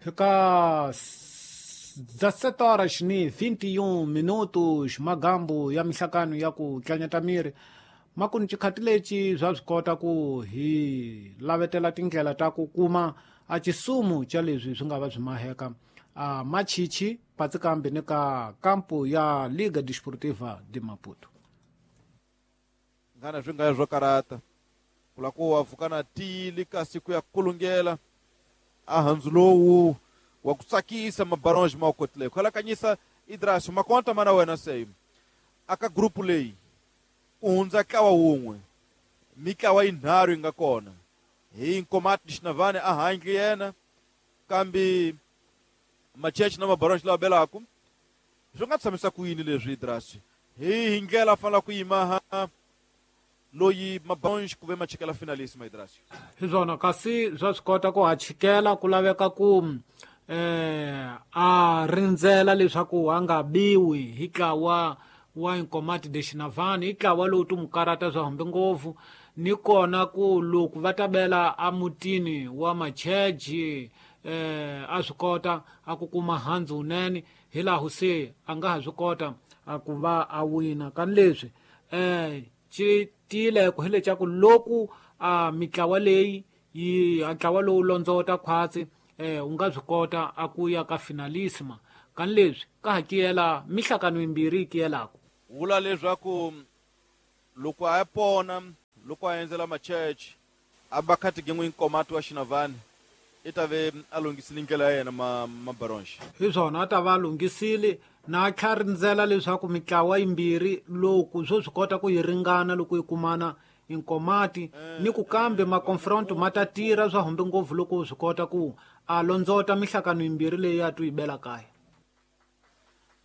Fika 17 horas ni 21 minutos magambu ya mihlakano ya ku tlanyata miri makuni chikhati leci bya swi kota ku hi lavetela tindlela ta ku kuma a cisumu cha leswi swi nga va swi maheka a machichi patsikambi ni ka kampu ya Liga Desportiva de Maputo. Nghana swi nga swo karata kula ku wa pfuka na tiyile kasi ku ya kulungela a handzu lowu wa ku tsakisa mabaronge ma wu kotile ku halakanyisa Idras makonta mana wena se aka grupu leyi ku hundza ntlawa wun'we mitlawa yinharhu yi nga kona hi Nkomati Xinavane a handle yena kambe Macheche na mabaronge lawa belaku swi nga tshamisa ku yini leswi Idras hi ndlela fanela ku yima ha loyi mabaronge ku ve machikela finalist ma Idras hi swona kasi swa swi kota ku ha chikela ku laveka ku a rindzela leswaku a nga biwi hi ntlawa wa Nkomati de Xinavane hi ntlawa lowu ti mukarata swa hambi ngopfu ni kona ku loko va ta bela emutini wa Macheche a swi kota a ku kuma handzu wunene hi laha se a nga ha swi kota a ku va a wina kani leswi xi tiyile ku hi leswaku loko a mitlawa leyi yi a ntlawa lowu londzota khwatsi u nga swi kota a ku ya ka finalisima kani leswi ka ha kiyela mihlakano yimbirhi yi kiyelaka vula leswaku loko a ya pona loko a endzela Macheche a ba khati gen'we Nkomati wa Xinavane i ta ve a lunghisile ndlela ya yena mabaronge hi swona a ta va a lunghisile na tlha rindzela leswaku mitlawa yimbirhi loko swo swi kota ku yi ringana loko yi kumana Nkomati ni ku kambe maconfronto ma ta tirha swa humbe ngopfu loko swi kota ku a londzota mihlakano yimbirhi leyi a tu yi bela kaya.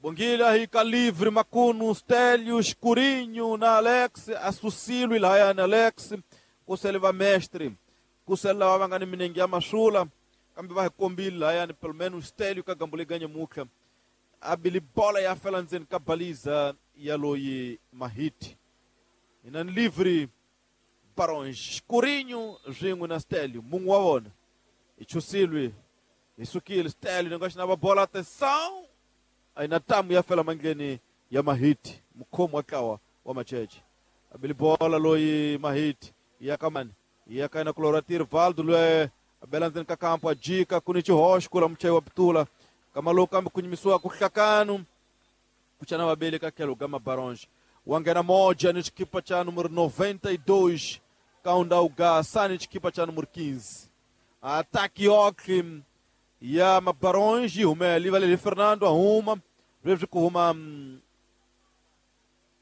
Bongile hi ka livre makunu Stélio Escurinho na Alex asusilo lahaya na Alex kusele va mestre kusele lava va nga ni minenge ya masula kambe va hi kombile lahaya ni pelo menos Stélio ka gambo leganya mukha a bili bola ya fela ndzeni ka baliza ya loyi Mahiti ina ni livre Baron Escurinho swin'we na Stélio mungu wa vona hi chusilwe hi sukile Stélio ni nga xi na va bola atenção aina tamu ya fela mandleni ya Mahiti mukhomi wa ntlawa wa Macheche abili bola loyi Mahiti ya kamani ya kaina kulora Tirvaldo loyi abela ndzeni ka kampo a jika ku ni xihoxo kula muchayi wa pitula kama lowu kambe ku nyimisiwa ku hlakanu ku chana vabeli ka tlhelo ga Mabaronge wa nghena moja ni xikipa cha numero 92 kaunda ugasa ni xikipa cha numero 15 ataki yoxe ya Mabaronge humela ivalele Fernando ahuma leswi ku huma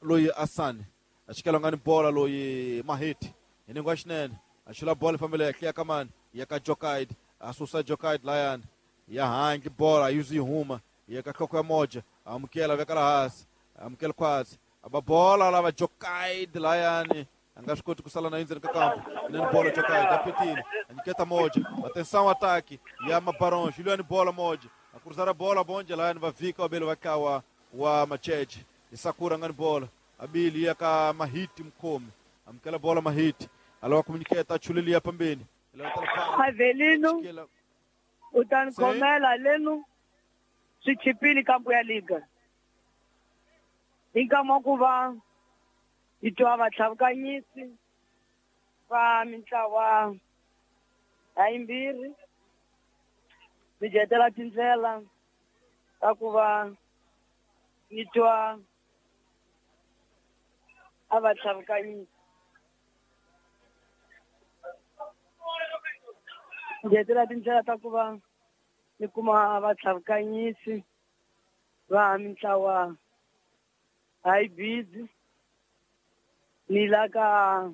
loyi Asani a xikela nga ni bola loyi Mahiti hi ningo xinene a xula bola fambele ya ya kamani ya ka Jokaid a susa Jokaid layani ya hangi bola yuzi huma ya ka hloko ya moja amukela veka la hansi amukela khwatsi aba bola lava Jokaid layani a nga swi koti ku sala na endzeni ka kampo inani bola Jokaid a petile a nyiketa moja atenção ataque ya Mabaronge ilweni bola moja a cruzar a bola bonje layani va vika wabele va kawa wa Macheche Isakura ngani bola abili ya ka Mahiti mukhomi amukela bola Mahiti alawa kumunyiketa achulelia pambeni Avelino u ta ni khomela lenu swi chipile kampo ya liga hi nkama ku va hi twa vatlhavukanyisi va mintlawa ya yimbirhi mi jetela tindlela ta ku va ni twa a va tlhavukanyisi jetela tindlela ta ku va ni kuma vatlhavukanyisi va mintlawa hybrid ni la ka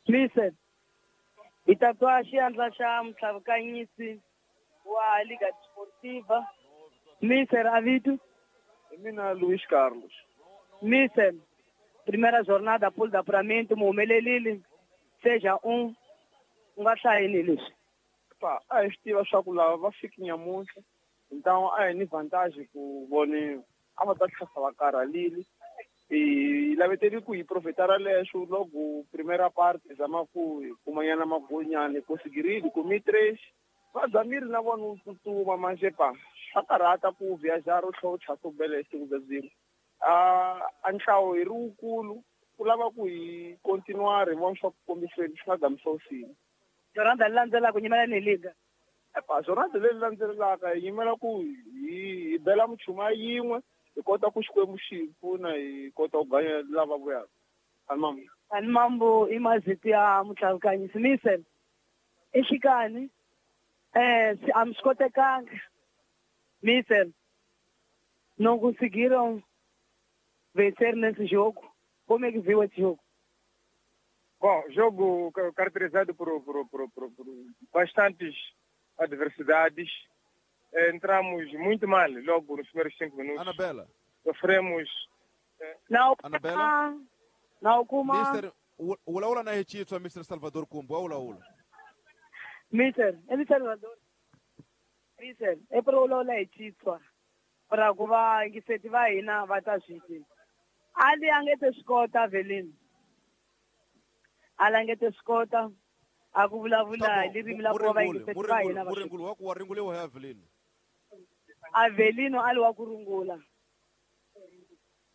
Listen, hi ta twa xiandla xa mutlhavukanyisi wa Liga Desportiva Mister Avito. Hi mina Luis Carlos. Mister, primeira jornada pool de apuramento muhumelelile seja u nga hlayini leswi. Pa, a hi swi tiva swa ku lava va fiki nyamuntlha então a hi ni vantagem ku voniwa. a va ta tlhasa va karhalile. Hi laveteli ku hi profitara leswo loko primera parte zama ku hi kumanyana magolinyana hi conseguirile kumi 3 va zamile na vona u tsutsuma manje pa swa karhata ku viajar u tlhela u tlhasa u bela hi siku bya byin'we. A nhlawo hi ri wukulu ku lava ku hi continuar hi vona swa ku kombiseni swi nga gamisa usini. Jornada leyi landzelaka nyimela ni liga. Epa jornada leyi landzelaka hi yimela ku hi bela muchuma yin'we hi kota ku Xikwembu xi hi pfuna hi kota ku ganya lava vuyaka. Ani Ani mambo i mazito ya mutlhavukanyisi Misel. Exikani a mi swi kotekanga. Misel não conseguiram vencer nesse jogo. Como é que viu esse jogo? Bom, jogo caracterizado por bastantes adversidades. Entramos muito mal logo nos primeiros 5 minutos. Anabela. Sofremos. Não, Anabela. Não, kuma. Mister, ulaula na hechitswa Mr. Salvador Kumbu, ulaula. Mister, é Salvador. Mister, é para ulaula hechitswa. Para kuva ngiseti va hina va ta switi. Ali angete swikota Avelino. Ali angete swikota a ku vulavula hi ririmi la ku va ngiseti va hina va. Muringulu wa ku wa ringuliwa hi Avelino. Avelino ali wa ku rungula.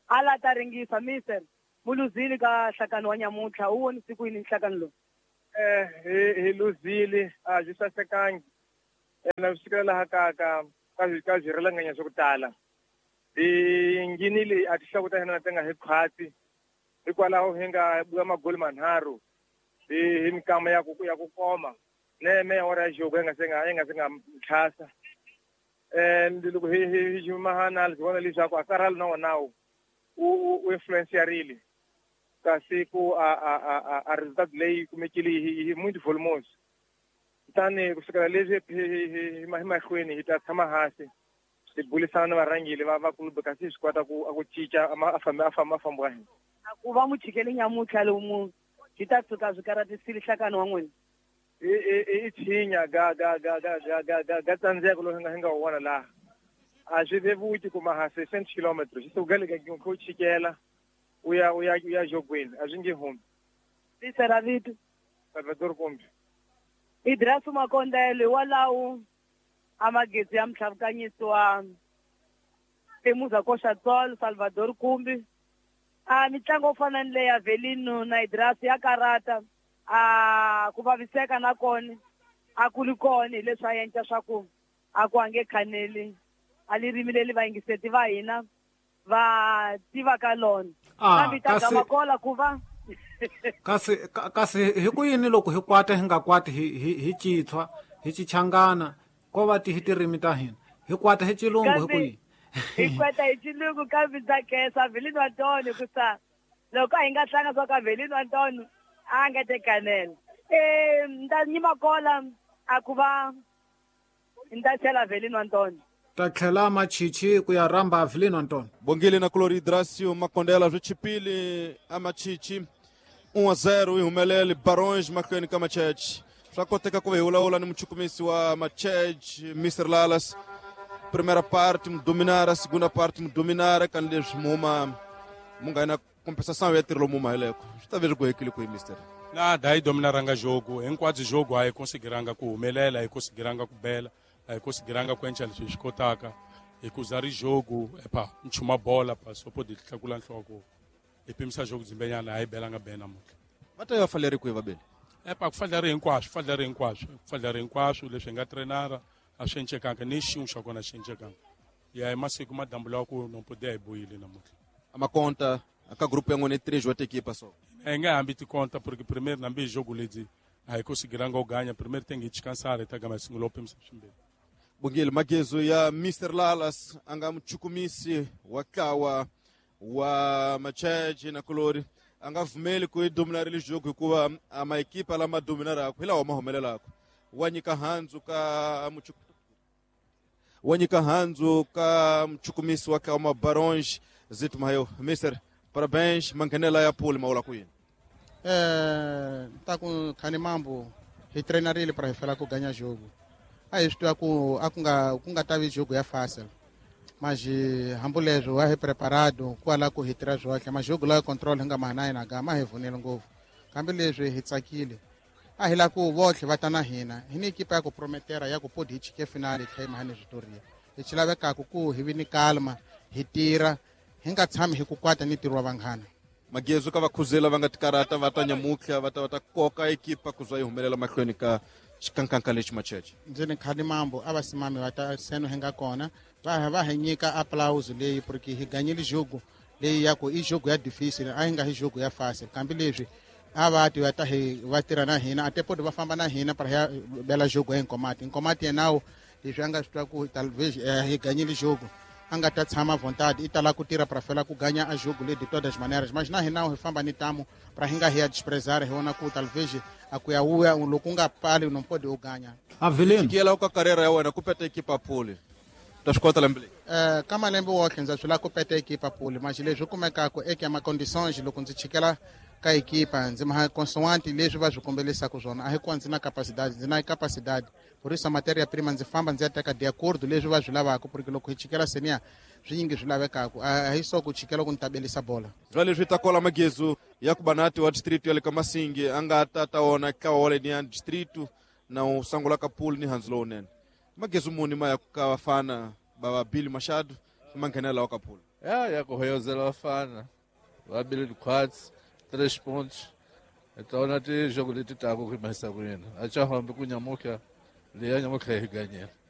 Ala ta ringisa Mister muluzili ka nhlakano wa nyamuntlha u vonise ku yini nhlakano lowu? Hi luzile a byi sasekangi. Na swi fikela laha ka ka byi swa ku tala. Hi nghenile a tinhloko ta hina ti nga hi khwatsi hikwalaho hi nga buya magoli manharhu hi mikama ya ku koma neme awara ya jogo hi nga se nga tlhasa. Loko hi jumahana hi vona leswaku a karhalo na wona u influencerile kasi ku a resultado leyi kumekile hi muito volumoso. Kutani ku sukela leswi hi mahlweni hi ta tshama hansi hi bulisana na varhangeli va club kasi swi kota ku cinca a famba wa hina. Ku va muchikeli nyamuntlha lomu byi ta tshuka byi karatisile nhlakano wa n'wina. I tshinya ga ga tsandzeko lowu hi nga wu vona laha. A swi vevuki kuma ha 60 km swi suka le ka ku chikela u ya jogweni a swi nge humi. Vito ra vito Salvador Kumbi. Idrasu Makondele walawo a magezi ya mutlhavukanyisi wa Temuza Koxatsolo Salvador Kumbi. A mitlangu yo fana ni leya Avelino na Idrasu ya karata a ku vaviseka na kona a ku ri kona hileswi a endla swa ku a ku ange khaneli a ririmi leri vayingiseti va hina va tivaka lona. Kambe ta gamakola ku va kasi hi ku yini loko hi kwata hi nga kwati hi chitshwa hi chichangana ko va ti hi tirimi ta hina hi kwata hi chilungu hi ku yini? Hi kwata hi chilungu kambe ndza khensa Avelino Antonio ku sa loko a hi nga hlanga swa ka Avelino Antonio a nga tekanela. Nda nyima kola a ku va nda tlhela Avelino Antonio. Ta tlhela machichi ku ya rhamba Avelino Antonio. Bongile na Kulori Idrasio Makondela swi chipile a machichi 1-0 hi humelele Barões mahlweni ka Macheche. Swa koteka ku va hi vulavula ni muchukumisi wa Macheche Mr. Lalas. Primeira parte mu dominara, segunda parte mu dominara kan leswi muma mu nga na compensação ya tirho lomu maheleko. Swi ta ve ri gohekile ku hi Mr. Nada hi dominaranga jogo, hinkwabyo jogo a hi conseguiranga ku humelela, hi conseguiranga ku bela, a hi conseguiranga ku endla leswi hi swi kotaka. Hi ku za ri jogo epa nchuma bola pa so pode tlakula nhloko. Hi pimisa jogo dzimbenyana a hi belanga be namuntlha. Va ta ya faleri kwihi vabeli? Epa ku fanele hinkwaswo, fanele hinkwaswo, fanele hinkwaswo leswi hi nga trainara a swi encekanga ni xin'we xa kona xi encekanga. Ya hi masiku madambu lawa ku no pode hi buyile namuntlha. Amakonta aka grupo ya n'wina 3 wa equipa so. Hi nga hambi tikonta porque primeiro nambi jogo ledzi a hi conseguiranga u ganha primeiro tem que descansar ta gama sungula u pimisa swimbirhi. Bongile magezo ya Mr. Lalas a nga muchukumisi wa ntlawa wa Macheche na Kulori a nga pfumeli ku yi dominarile jogo hikuva a maekipa lama dominaraka hi lawa ma humelelaka. Wa nyika handzu ka wa nyika handzu ka muchukumisi wa ntlawa wa Barões Zito Mayo. Mister, parabéns, manghenela ya pool ma vula ku yini? Ta ku khani mambo hi treinarile para hi fela ku ganya jogo. A hi swi tiva ku a ku nga tavi jogo ya fácil. Mas hambuleswo wa hi preparado kwala ku hi tirha swohle majogo lawa control hi nga ma na hina ga ma hi vunile ngopfu kambe leswi hi tsakile a hi la ku votlhe va ta na hina hi ni ekipa ya ku prometera ya ku podi hi chike finale hi tlhe hi mahani switoria lexi lavekaka ku hi vi ni kalma hi tirha hi nga tshami hi ku kwata ni ntirho wa vanghana. Magezu ka vakhuzela va nga tikarata va ta nyamutlha va ta va ta koka ekipa ku za yi humelela mahlweni ka xikankanka lexi macheche. Ndzi ni khani mambo a va simami va ta seno hi nga kona va hi nyika applause leyi porque hi ganyile jogo leyi ya ku i jogo ya difficile a yi nga hi jogo ya fácil kambe leswi a va ti va ta hi va tirha na hina a tepodi va famba na hina para ya bela jogo ya Nkomati. Nkomati yenawo leswi a nga swi twa ku talvez hi ganyile jogo a nga ta tshama vontade i tala ku tirha para fela ku ganya a jogo le de todas maneiras, mas na hina hi famba ni tamo para hi nga hi ya desprezar hi vona ku talvez a ku ya wuya loko u nga pali no pode u ganya. Avelino xikiyela ka karriera ya wena ku peta ekipa pole ta swi kota lembe leyi ka malembe wotlhe ndza swi lava ku peta ekipa pole mas leswi kumekaka eka ma conditions loko ndzi chikela ka ekipa ndzi ma consoante leswi va swi kombelisaka swona a hi kuwa ndzi na capacidade ndzi na capacidade por isso a matéria prima ndzi famba ndzi ya teka de acordo leswi va swi lavaka porque loko hi chikela senior swi nyingi swi lavekaka a hi so ku chikela ku ni tabelisa bola. Bya leswi ta kola magezu ya ku banati wa district ya le ka Masingi a nga ta ta wona ntlawa wa leniya district na wu sangula ka pool ni handzu lowunene magezu muni ma ya ka vafana va va Billy Machado ma nghenela wa ka pool ya ku hoyozela vafana va Billy Quads 3 pontos. Então na ti jogo leti taku ku mahisa ku yena a cha hambi ku nyamuka leya nyamuka hi ganyela.